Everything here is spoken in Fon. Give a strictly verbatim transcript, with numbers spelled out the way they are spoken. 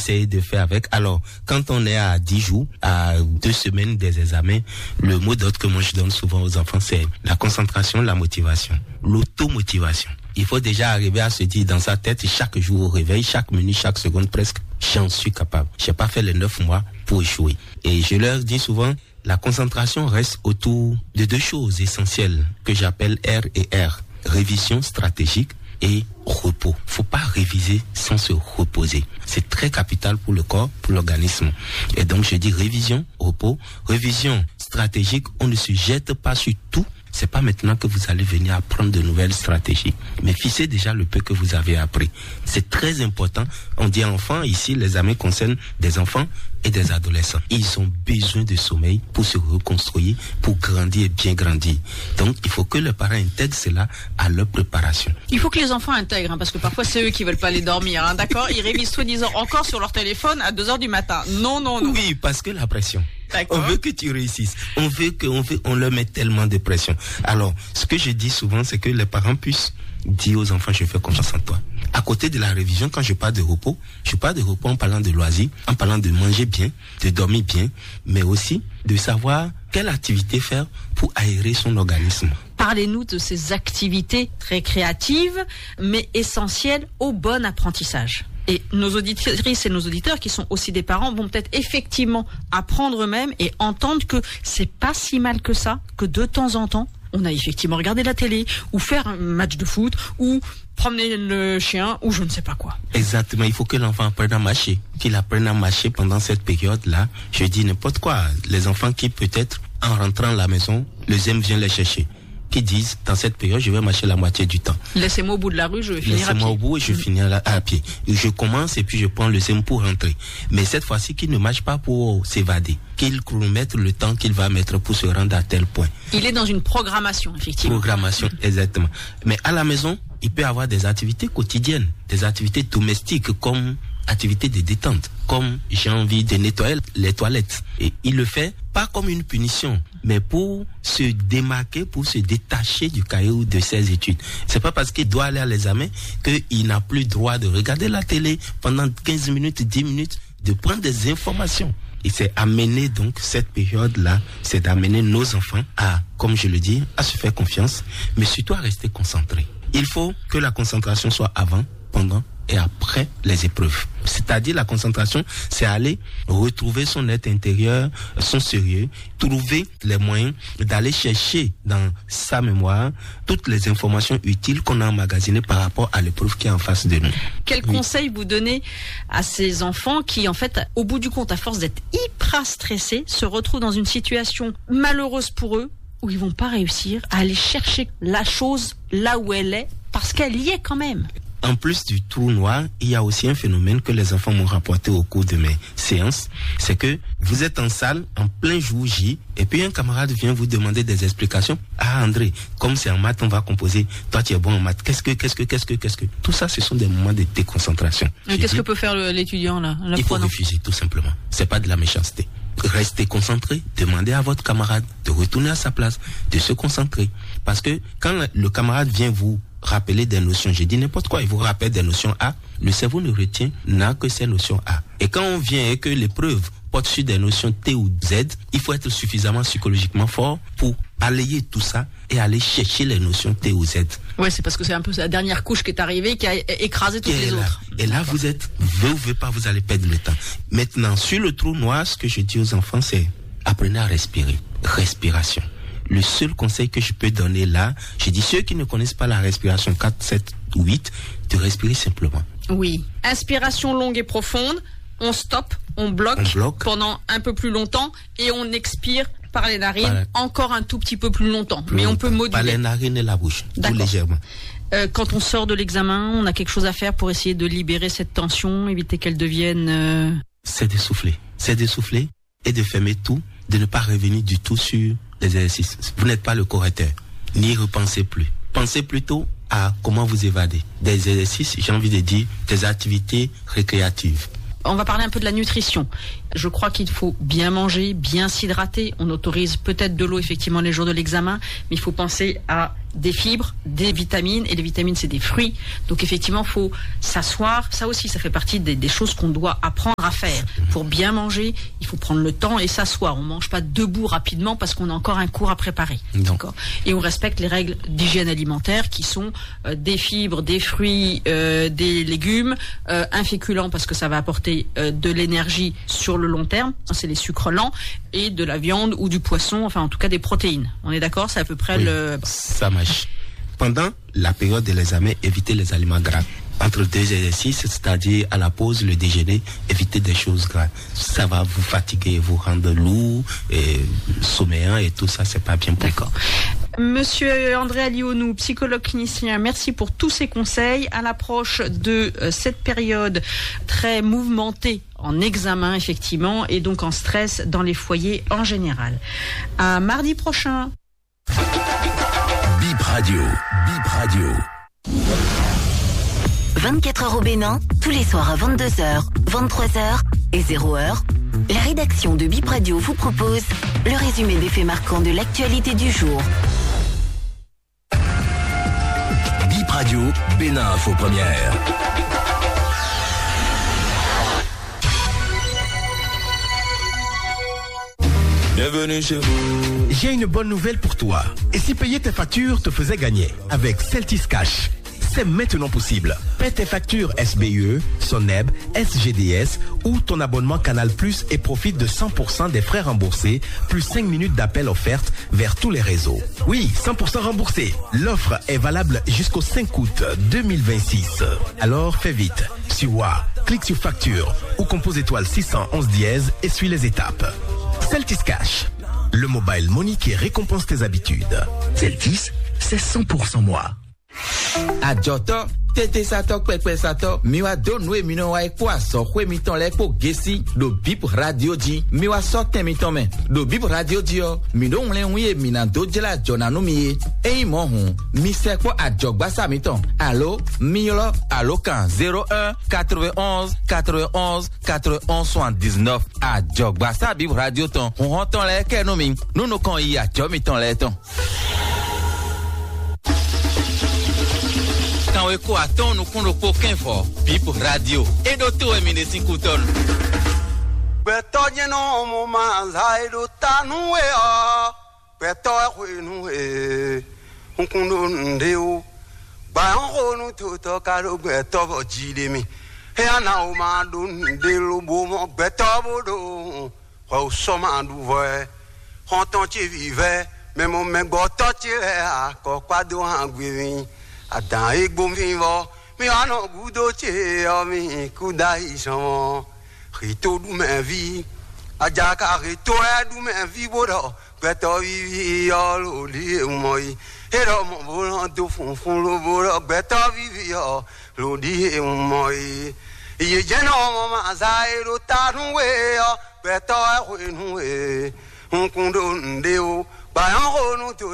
essayer de faire avec. Alors, quand on est à dix jours, à deux semaines des examens, le mot d'ordre que moi je donne souvent aux enfants, c'est la concentration, la motivation, l'automotivation. Il faut déjà arriver à se dire dans sa tête, chaque jour au réveil, chaque minute, chaque seconde presque, j'en suis capable. J'ai pas fait les neuf mois pour échouer. Et je leur dis souvent, la concentration reste autour de deux choses essentielles que j'appelle R et R. Révision stratégique et repos. Faut pas réviser sans se reposer. C'est très capital pour le corps, pour l'organisme. Et donc, je dis révision, repos, révision stratégique. On ne se jette pas sur tout. C'est pas maintenant que vous allez venir apprendre de nouvelles stratégies. Mais fixez déjà le peu que vous avez appris. C'est très important. On dit enfants, ici, les amis concernent des enfants et des adolescents. Ils ont besoin de sommeil pour se reconstruire, pour grandir et bien grandir. Donc, il faut que les parents intègrent cela à leur préparation. Il faut que les enfants intègrent, hein, parce que parfois c'est eux qui veulent pas aller dormir, hein, d'accord ? Ils révisent soi-disant encore sur leur téléphone à deux heures du matin. Non, non, non. Oui, parce que la pression. D'accord. On veut que tu réussisses. On veut que, on veut, on leur met tellement de pression. Alors, ce que je dis souvent, c'est que les parents puissent dire aux enfants, je fais confiance en toi. À côté de la révision, quand je parle de repos, je parle de repos en parlant de loisirs, en parlant de manger bien, de dormir bien, mais aussi de savoir quelle activité faire pour aérer son organisme. Parlez-nous de ces activités récréatives, mais essentielles au bon apprentissage. Et nos auditrices et nos auditeurs, qui sont aussi des parents, vont peut-être effectivement apprendre eux-mêmes et entendre que c'est pas si mal que ça, que de temps en temps, on a effectivement regardé la télé ou faire un match de foot ou promener le chien ou je ne sais pas quoi. Exactement, il faut que l'enfant apprenne à marcher, qu'il apprenne à marcher pendant cette période-là. Je dis n'importe quoi. Les enfants qui peut-être, en rentrant à la maison, le zème vient les chercher, qui disent, dans cette période, je vais marcher la moitié du temps. Laissez-moi au bout de la rue, je vais finir à Laissez-moi au pied. Bout et je finis à, la- à pied. Je commence et puis je prends le zème pour rentrer. Mais cette fois-ci, qu'il ne marche pas pour s'évader, qu'il chronomètre le temps qu'il va mettre pour se rendre à tel point. Il est dans une programmation, effectivement. Programmation, exactement. Mais à la maison, il peut avoir des activités quotidiennes, des activités domestiques comme activités de détente, comme j'ai envie de nettoyer les toilettes. Et il le fait pas comme une punition, mais pour se démarquer, pour se détacher du cahier ou de ses études. C'est pas parce qu'il doit aller à l'examen qu'il n'a plus droit de regarder la télé pendant quinze minutes, dix minutes, de prendre des informations. Et c'est amener donc cette période-là, c'est d'amener nos enfants à, comme je le dis, à se faire confiance, mais surtout à rester concentrés. Il faut que la concentration soit avant, pendant et après les épreuves. C'est-à-dire la concentration, c'est aller retrouver son être intérieur, son sérieux, trouver les moyens d'aller chercher dans sa mémoire toutes les informations utiles qu'on a emmagasinées par rapport à l'épreuve qui est en face de nous. Quel conseil vous donnez à ces enfants qui, en fait, au bout du compte, à force d'être hyper stressés, se retrouvent dans une situation malheureuse pour eux, où ils vont pas réussir à aller chercher la chose là où elle est, parce qu'elle y est quand même. En plus du trou noir, il y a aussi un phénomène que les enfants m'ont rapporté au cours de mes séances, c'est que vous êtes en salle en plein jour J, et puis un camarade vient vous demander des explications. Ah André, comme c'est en maths, on va composer. Toi, tu es bon en maths. Qu'est-ce que, qu'est-ce que, qu'est-ce que, qu'est-ce que Tout ça, ce sont des moments de déconcentration. Qu'est-ce que peut faire l'étudiant là ? Il faut refuser, tout simplement. C'est pas de la méchanceté. Restez concentré, demandez à votre camarade de retourner à sa place, de se concentrer. Parce que quand le camarade vient vous rappeler des notions, je dis n'importe quoi, il vous rappelle des notions A, le cerveau ne retient, n'a que ces notions A. Et quand on vient et que l'épreuve porte sur des notions T ou Z, il faut être suffisamment psychologiquement fort pour balayer tout ça et aller chercher les notions T ou Z. Ouais, c'est parce que c'est un peu la dernière couche qui est arrivée, qui a écrasé toutes les autres. Et là, vous êtes, veut ou veut pas, vous allez perdre le temps. Maintenant, sur le trou noir, ce que je dis aux enfants, c'est apprenez à respirer. Respiration. Le seul conseil que je peux donner là, je dis ceux qui ne connaissent pas la respiration quatre, sept, huit, de respirer simplement. Oui. Inspiration longue et profonde, on stop, on bloque, on bloque pendant un peu plus longtemps et on expire par les narines encore un tout petit peu plus longtemps. Plus mais longtemps. On peut moduler. Par les narines et la bouche, tout légèrement. Euh, quand on sort de l'examen, on a quelque chose à faire pour essayer de libérer cette tension, éviter qu'elle devienne... Euh... C'est de souffler. C'est de souffler et de fermer tout, de ne pas revenir du tout sur les exercices. Vous n'êtes pas le correcteur. N'y repensez plus. Pensez plutôt à comment vous évader. Des exercices, j'ai envie de dire, des activités récréatives. On va parler un peu de la nutrition. Je crois qu'il faut bien manger, bien s'hydrater. On autorise peut-être de l'eau effectivement les jours de l'examen, mais il faut penser à des fibres, des vitamines, et les vitamines, c'est des fruits. Donc effectivement, il faut s'asseoir. Ça aussi, ça fait partie des, des choses qu'on doit apprendre à faire. Pour bien manger, il faut prendre le temps et s'asseoir. On ne mange pas debout rapidement parce qu'on a encore un cours à préparer. D'accord. Et on respecte les règles d'hygiène alimentaire qui sont euh, des fibres, des fruits, euh, des légumes, euh, un féculent parce que ça va apporter euh, de l'énergie sur le long terme, c'est les sucres lents, et de la viande ou du poisson, enfin en tout cas des protéines. On est d'accord, c'est à peu près Oui, le... Ça marche. Pendant la période de l'examen, évitez les aliments gras. Entre deux exercices, c'est-à-dire à la pause, le déjeuner, évitez des choses gras. Ça va vous fatiguer, vous rendre lourd, et sommeillant et tout ça, c'est pas bien pour vous. D'accord. Monsieur André Alionou, psychologue clinicien, merci pour tous ces conseils à l'approche de euh, cette période très mouvementée en examen, effectivement, et donc en stress dans les foyers en général. À mardi prochain. Bip Radio, Bip Radio. Vingt-quatre heures au Bénin, tous les soirs à vingt-deux heures, vingt-trois heures et zéro heure, la rédaction de Bip Radio vous propose le résumé des faits marquants de l'actualité du jour. Bip Radio, Bénin Info Première. Bienvenue chez vous. J'ai une bonne nouvelle pour toi. Et si payer tes factures te faisait gagner avec Celtis Cash ? C'est maintenant possible. Paie tes factures S B E, Soneb, S G D S ou ton abonnement Canal Plus et profite de cent pour cent des frais remboursés, plus cinq minutes d'appel offertes vers tous les réseaux. Oui, cent pour cent remboursé. L'offre est valable jusqu'au cinq août deux mille vingt-six. Alors fais vite. Sur Wa, clique sur facture ou compose étoile six cent onze dièse et suis les étapes. Celtis Cash, le mobile money qui récompense tes habitudes. Celtis, c'est cent pour cent moi. Ajɔtɔ, tete satɔ, kpɛkpɛ satɔ, mi wa dó nǔ e mi nɔ wa é kpó azɔxwé mitɔn lɛ́ɛ kpó gesi ɖo Bip Radio jí. Mi wa sɔ́ tɛn mitɔn mɛ. Ɖo Bip Radio jí ɔ́, mi ɖó wlɛ́nwí e mi ná dó jlá ajɔ ná nú mi é. Ényí mɔ̌ hǔn, mi sɛkpɔ́ ajɔ̌gbásá mitɔn, alo mi ylɔ́ alǒkan zéro un quatre-vingt-onze quatre-vingt-onze quatre-vingt-onze soixante-dix-neuf. Ajɔ̌gbásá Bip Radio tɔn, hǔnhɔ́n tɔn lɛ́ɛ kɛ nú mi, nú nukɔn yi ajɔ̌ mitɔn lɛ́ɛ tɔn. Kanweko atɔ́ɔ́n nukún ɖokpó kɛ́nvɔ, Bip Radio. É ɖótó wɛ mi ɖe sín kútɔ́nu. Gbɛtɔ́ jɛ́n nɔ mɔ ma za e ɖo ta nú we ɔ́, gbɛtɔ́ wɛ hwenu e un kun ɖo nǔɖé ó. Gbǎn xo nú totɔ ka ɖo gbɛtɔ́ bɔ jí ɖe mì. É ana wo ma ɖo nǔɖé lobo mɔ gbɛtɔ́ bó ɖo hwɛ wú sɔ́ ma ɖu vɔ ɛ. Xɔ́ntɔn ce vǐvɛ́, mɛ mɔ mɛgbɔtɔ́ ce lɛ́ɛ akɔkpá dó hán gbe mì. Adǎn e gbó mì vɔ, mì wá nɔ gúdo ce ɔ́, mì kú dó ayǐ zɔn mɔ. Xǐto ɖu mɛ ví, ajaka xǐto wɛ ɖu mɛ ví bó ɖɔ gbɛtɔ́ víví ɔ́ lǒ ɖíe mɔ yi. É ɖɔ mɔ bó nɔ dó funfun lobo ɖɔ gbɛtɔ́ víví ɔ́ lǒ ɖíe mɔ yi. Yě jɛ́n nɔ mɔ maza e ɖo ta nú we ɔ́, gbɛtɔ́ wɛ hwenu e un kun ɖo nǔɖé ó. Gbǎn nyɔ́xonu to